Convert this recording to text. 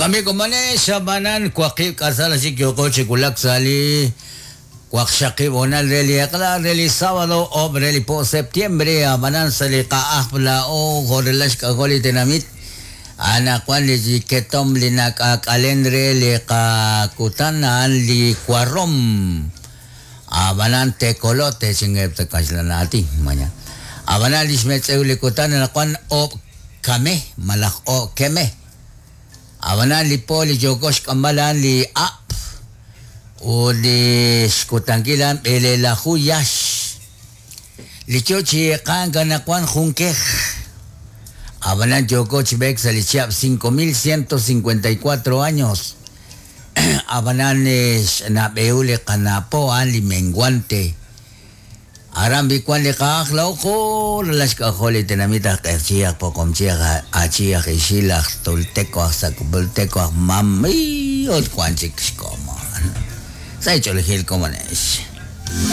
Jo'kan b'i' komonex, ab'anan waqib' k'asal chik yooko chi wulak sa' li waqxaqib' hoonal re li eq'la re li sábado oob' re li po septiembre, ab'anan sa' li qa'ajb' laa'o jo' rela' xk'ajol li tenamit, anaqwan li ketomq li nak'aak'alen re li qakutan a'an li warom, ab'anan tecolote chingeb' sa' kaxlan aatin, maña. Ab'anan li xmetz'ew li kutan anaqwan oob' kame malaj oob' keme. Ab'anan li po li yooko xk'amb'al a'an li ab' ut li xkutankil a'an b'eleelaju yax. Li yo chi eeqank anaqwan jun kej. Ab'anan yooko chi b'eek sa' li chihab' 5154 años. Ab'anan xnab'ehul li qana' po a'an li menguante. Aran b'i wan li qa'aj laa'o ralal xk'ajol li tenamit aj Q'eqchi', aj Poqomchi', aj Achi', aj Ixil, aj Tolteco, aj Sacbulteco, aj Mam, ut wan chik xkomon. Sa' xch'oolejil komonex.